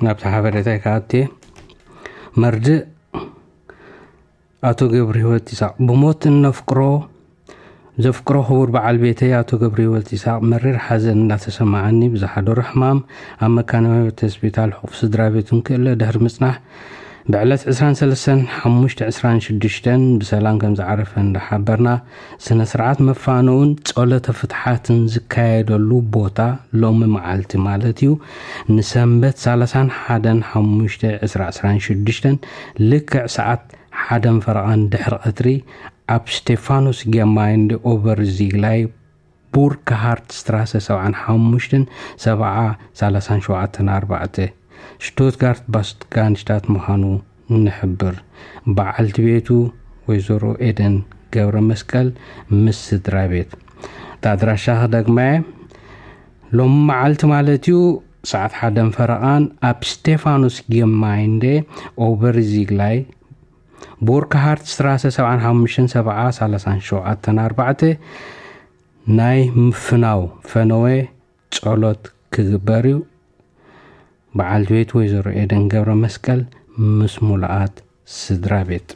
ናብቲ ሓበሬታይ ክኣቱ እየ። መርድእ ኣቶ ገብረ ህይወት ይስሐቅ ብሞት እነፍቅሮ ዘፍቅሮ ክቡር በዓል ቤተይ ኣቶ ገብረ ህይወት ይስሐቅ መሪር ሓዘን እንዳተሰማዓኒ ብዝሓደሮ ሕማም ኣብ መካነ ህይወት ሆስፒታል ሕቁፍ ስድራ ቤቱን ክእለ ድሕሪ ምጽናሕ ብዕለት ዕስራን ሰለስተን ሓሙሽተ ዕስራን ሽዱሽተን ብሰላም ከም ዝዓረፈ እንዳሓበርና፣ ስነ ስርዓት መፋነውን ጸሎተ ፍትሓትን ዝካየደሉ ቦታ ሎሚ መዓልቲ ማለት እዩ፣ ንሰንበት ሰላሳን ሓደን ሓሙሽተ ዕስራ ዕስራን ሽዱሽተን ልክዕ ሰዓት ሓደን ፈረቓን ድሕሪ ቀትሪ ኣብ ስቴፋኖስ ጌማይንድ ኦቨርዚግላይ ቡርክሃርት ስትራሰ ሰብዓን ሓሙሽተን ሰብዓ ሰላሳን ሸውዓተን ኣርባዕተ ሽቱትጋርት ባስጋንሽታት ምዃኑ ንሕብር። በዓልቲ ቤቱ ወይዘሮ ኤደን ገብረ መስቀል ምስ ስድራ ቤት። እታ ኣድራሻ ክደግማ እየ። ሎም መዓልቲ ማለት እዩ ሰዓት ሓደን ፈረቓን ኣብ ስቴፋኖስ ጌማይንደ ኦቨርዚግላይ ቡርክሃርት ስትራሰ ሰብዓን ሓሙሽተን ሰብዓ ሰላሳን ሸውዓተን ኣርባዕተ ናይ ምፍናው ፈነወ ጸሎት ክግበር እዩ። በዓልቲ ቤት ወይዘሮ ኤደን ገብረ መስቀል ምስ ሙሉኣት ስድራ ቤት።